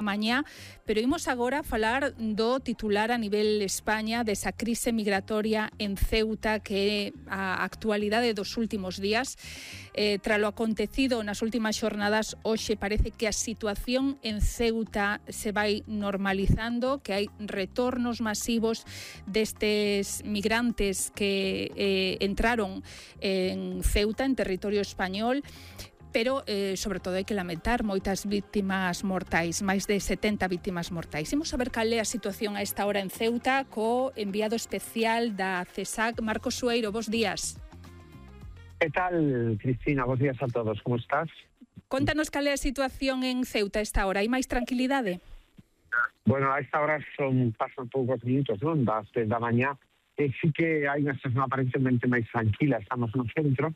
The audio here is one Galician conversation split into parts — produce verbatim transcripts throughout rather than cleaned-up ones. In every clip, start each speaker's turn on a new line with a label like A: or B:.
A: mañá, pero imos agora falar do titular a nivel España desa crise migratoria en Ceuta, que é a actualidade dos últimos días. Eh, tralo acontecido nas últimas xornadas, hoxe parece que a situación en Ceuta se vai normalizando, que hai retornos masivos destes migrantes que eh, entraron en Ceuta, en territorio español, pero, eh, sobre todo, hai que lamentar moitas víctimas mortais, máis de setenta víctimas mortais. Imos saber cal é a situación a esta hora en Ceuta co enviado especial da CESAC, Marcos Sueiro. Bos días.
B: Que tal, Cristina? Bos días a todos. Como estás?
A: Contanos cal é a situación en Ceuta a esta hora. Hai máis tranquilidade?
B: Bueno, a esta hora son pasan poucos minutos, non? Das dez da mañá. E sí que hai unha situación aparentemente máis tranquila. Estamos no centro.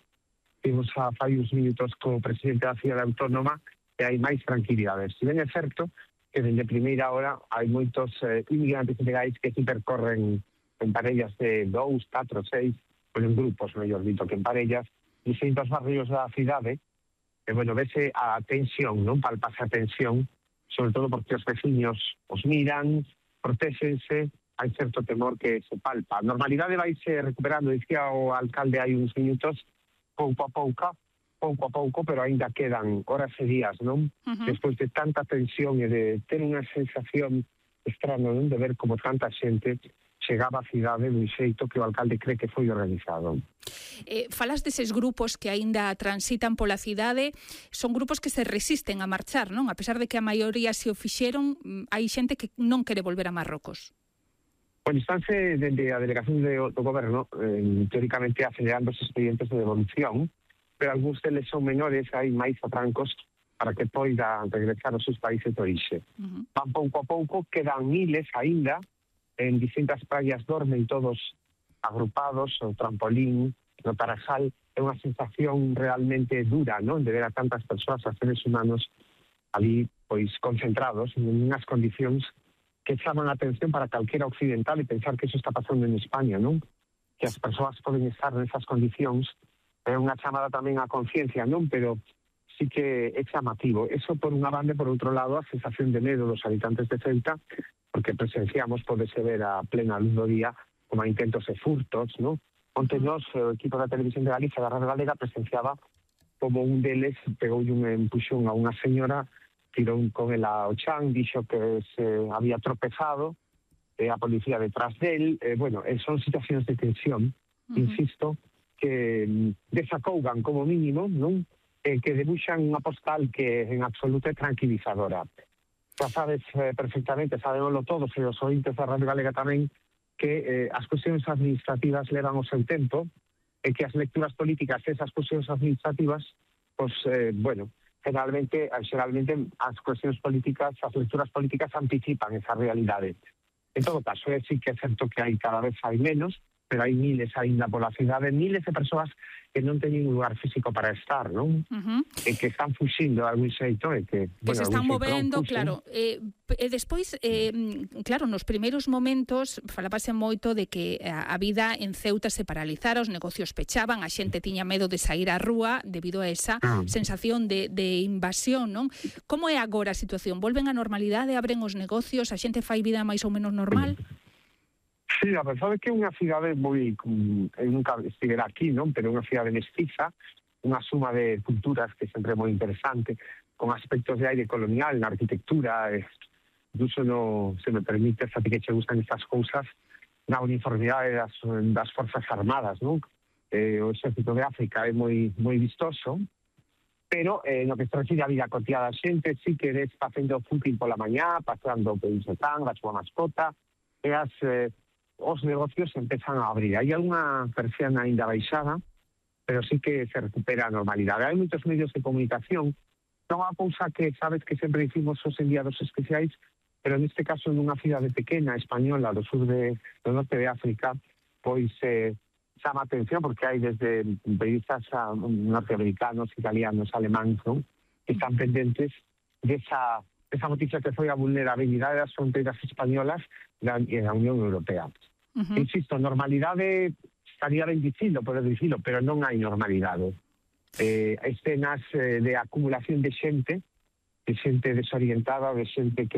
B: Vimos a fai uns minutos co presidente da cidade autónoma e hai máis tranquilidade. Se ben é certo que dende primeira hora hai moitos eh, inmigrantes ilegais que se percorren en parellas de dous, catro, seis, ou en grupos, mellor dito, que en parellas, distintos barrios da cidade. E, bueno, vese a tensión, non? Palpase a tensión, sobre todo porque os veciños os miran, protéxense, hai certo temor que se palpa. A normalidade vaise recuperando, dicía o alcalde hai uns minutos, pouco a pouco, pouco a pouco, pero aínda quedan horas e días, non? Uh-huh. Despois de tanta tensión e de ter unha sensación extraña, non? De ver como tanta xente chegaba á cidade dun xeito que o alcalde cree que foi organizado.
A: Eh, falas deses grupos que aínda transitan pola cidade, son grupos que se resisten a marchar, non? A pesar de que a maioría se o fixeron, hai xente que non quere volver a Marrocos.
B: Bueno, estánse dende a delegación do, do goberno, eh, teóricamente acelerando os expedientes de devolución, pero algúns deles son menores, hai máis atrancos para que poidan regresar aos seus países de orixe. Uh-huh. Van pouco a pouco, quedan miles aínda, en distintas praias dormen todos agrupados, o trampolín, no Tarajal. É unha sensación realmente dura, non? De ver a tantas persoas, a seres humanos, ali, pois, concentrados en unhas condicións que chaman a atención para calquera occidental e pensar que iso está pasando en España, non? Que as persoas poden estar nesas condicións. É unha chamada tamén á conciencia, non? Pero sí que é chamativo. Eso por unha banda, por outro lado, a sensación de medo dos habitantes de Ceuta, porque presenciamos, podese ver a plena luz do día, como a intentos e furtos, non? Onte nos, o equipo da Televisión de Galicia, da Radio Galega, presenciaba como un deles pegou un empuxón a unha señora, tirou con ela ao chan, dixo que se había tropezado, eh, a policía detrás del, eh, bueno, eh, son situacións de tensión, uh-huh. Insisto, que mm, desacougan como mínimo, non? Eh, que debuxan unha postal que en absoluto é tranquilizadora. Xa sabes eh, perfectamente, sabémoslo todos, e os ointes da Radio Galega tamén, que eh, as cuestións administrativas levan o seu tempo, e que as lecturas políticas esas cuestións administrativas, pois, eh, bueno, Generalmente, generalmente as cuestións políticas, as lecturas políticas anticipan esa realidade. En todo caso, é sí que é certo que hai cada vez hai menos, pero hai miles aínda pola cidade, miles de persoas que non teñen un lugar físico para estar, non? Uh-huh. E que están fuxindo de algún xeito e que...
A: Que bueno, se están movendo, claro. E eh, despois, eh, claro, nos primeiros momentos falábase moito de que a, a vida en Ceuta se paralizara, os negocios pechaban, a xente tiña medo de sair á rúa debido a esa uh-huh. sensación de, de invasión, non? Como é agora a situación? Volven á normalidade, abren os negocios, a xente fai vida máis ou menos normal? Uh-huh.
B: Sí, a verdade é que é unha cidade moi... Eu nunca estivera aquí, non? Pero é unha cidade mestiza, unha suma de culturas que sempre é moi interesante, con aspectos de aire colonial na arquitectura, eh, incluso no, se me permite, xa que che gustan estas cousas, na uniformidade das, das Forzas Armadas, non? Eh, o exército de África é moi moi vistoso, pero eh, no que se refire a vida cotidiana da xente, sí que ves facendo fútbol pola mañá, paseando por un setán, a súa mascota, e as... Eh, os negocios empezan a abrir. Hai algunha persiana ainda baixada, pero sí que se recupera a normalidade. Hai moitos medios de comunicación. Non é unha cousa que sabes que sempre dicimos os enviados especiais, pero neste caso nunha cidade pequena, española, do sur de, do norte de África, pois eh, chama a atención porque hai desde periodistas norteamericanos, italianos, alemáns, non? Que están pendentes desa... esa noticia que foi a vulnerabilidade das fronteiras españolas da, da Unión Europea. Uh-huh. Insisto, normalidade estaría ben dicilo, poder dicilo, pero non hai normalidade. Eh, escenas eh, de acumulación de xente, de xente desorientada, de xente que